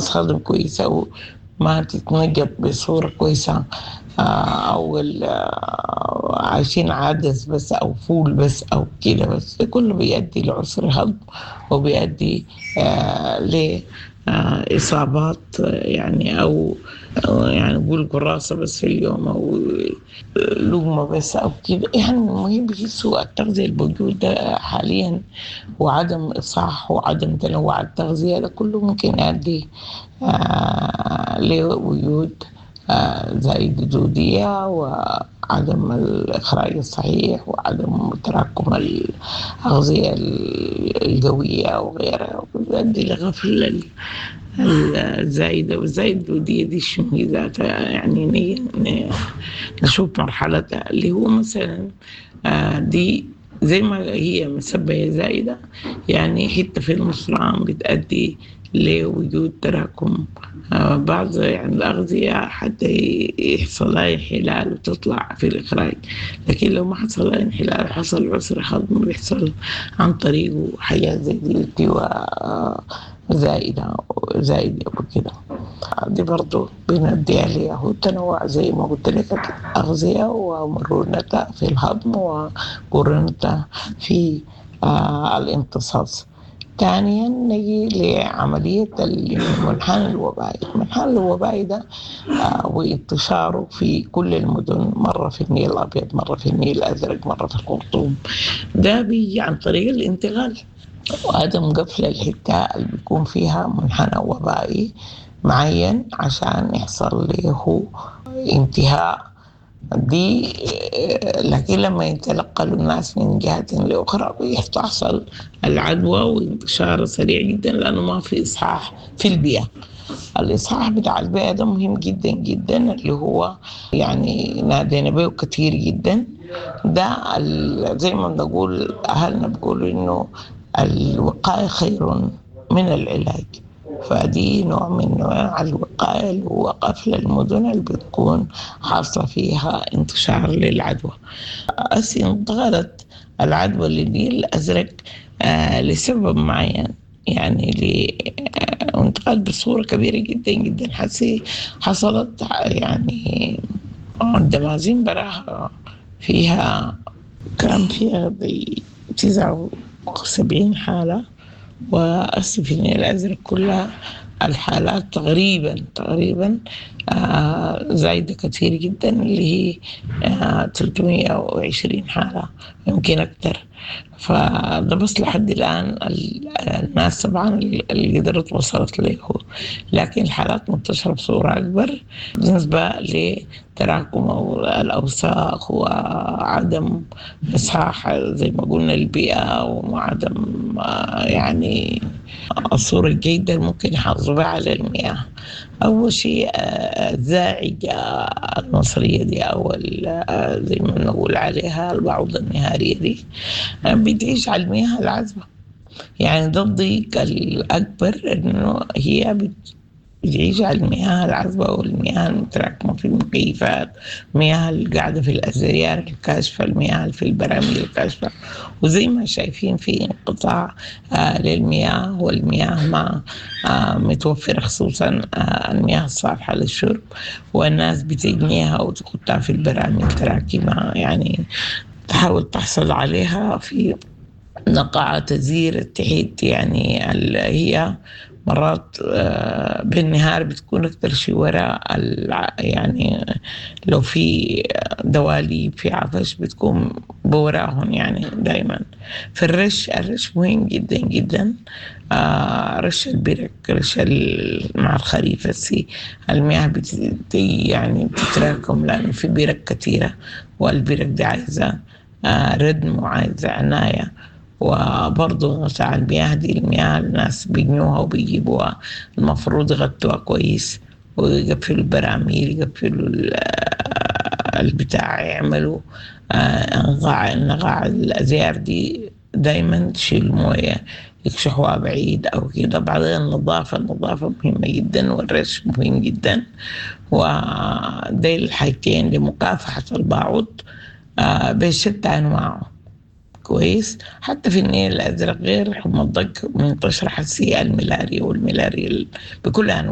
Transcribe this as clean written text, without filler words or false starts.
تتهضم كويس أو ما تتنجض بصورة كويسة، أو عايشين عدس بس أو فول بس أو كده بس، ده كله بيؤدي لعسر هضم وبيؤدي لإصابات يعني أو يعني نقول قراصة بس في اليوم أو لقمة بس أو كده. يعني المهم سوء التغذية الموجودة حاليا وعدم إصحاح وعدم تنوع التغذية ده كله ممكن يؤدي لوجود زايدة دودية وعدم الإخراج الصحيح وعدم تراكم الأغذية القوية وغيرها، وبيؤدي لغفل الزايدة. والزايدة الدودية دي شنو هي ذاتها؟ يعني نشوف مرحلتها اللي هو مثلا دي زي ما هي مسبية زايدة، يعني حتة في المصران بتأدي لوجود تراكم بعض يعني الأغذية حتى يحصل لها انحلال وتطلع في الإخراج. لكن لو ما حصل لها انحلال حصل عسر هضم بيحصل عن طريقه حاجات زي دي التواء زائدة زائدة وكده. دي برضو بندي عليها هو التنوع زي ما قلت لك الأغذية ومرونتها في الهضم ومرونتها في الامتصاص. ثانيا نجي لعملية المنحنى الوبائي. المنحنى الوبائي ده وانتشاره في كل المدن، مرة في النيل الأبيض، مرة في النيل الأزرق، مرة في الخرطوم، ده بيجي عن طريق الانتقال وعدم قفل الحتة اللي بيكون فيها منحنى وبائي معين عشان يحصل له انتهاء دي. لكن لما يتنقلوا الناس من جهة لأخرى بتحصل العدوى وانتشار سريع جدا، لأنه ما في إصحاح في البيئة. الإصحاح بتاع البيئة ده مهم جدا جدا، اللي هو يعني نادينا به كثير جدا. ده زي ما بنقول أهلنا بيقولوا إنه الوقاية خير من العلاج، فدي نوع من أنواع الوقاية اللي هو قفل المدن اللي بتكون حاصلة فيها انتشار للعدوى. أسي انتقلت العدوى للنيل الأزرق لسبب معين، يعني انتقلت بصورة كبيرة جدا جدا. حسي حصلت يعني الدمازين براها فيها كان فيها 79 حالة، وأسف في النيل الأزرق كلها الحالات تقريبا زايدة كثير جدا، اللي هي 320 حالة يمكن أكثر. فده بس لحد الآن الناس طبعا اللي قدرت وصلت له، لكن الحالات منتشرة بصورة أكبر بالنسبة لتراكم الأوساخ وعدم إصحاح زي ما قلنا البيئة، وعدم يعني الصورة الجيدة اللي ممكن يحافظوا بها على المياه. أول شيء الزاعجة المصرية دي أو زي ما نقول عليها البعوضة النهارية دي بتعيش على المياه العذبة. يعني ده الضيق الأكبر، إنه هي بتعيش على المياه العذبة والمياه المتراكمة في المكيفات، المياه القاعدة في الأزريار الكاشفة، المياه في البراميل الكاشفة. وزي ما شايفين في انقطاع للمياه، والمياه ما متوفرة، خصوصا المياه الصالحة للشرب، والناس بتجنيها وتحطها في البراميل تراكمها، يعني تحاول تحصل عليها في نقعة تزير التحيت. يعني هي مرات بالنهار بتكون أكتر شيء وراء يعني لو في دواليب في عفش بتكون بوراهم يعني دايما. فالرش، الرش مهم جدا جدا، رش البرك، رش مع الخريف السي المياه يعني بتتراكم، لأنه في برك كثيرة، والبرك دي عايزة ردم وعايزة عناية. وبرضه بتاع المياه دي، المياه الناس بيجنوها وبيجيبوها، المفروض يغطوها كويس ويقفلوا البراميل، يقفلوا البتاع، يعملوا نقاع الأزيار دي دايما تشيل موية، يكشحوها بعيد أو كده. بعدين النظافة، النظافة مهمة جدا، والرش مهم جدا، ودي الحاجتين لمكافحة البعوض بشتى أنواعه. كويس. حتى في النيل الأزرق غير حمى الضنك منتشرة حسية الملاريا، والملاريا بكل أنواعها.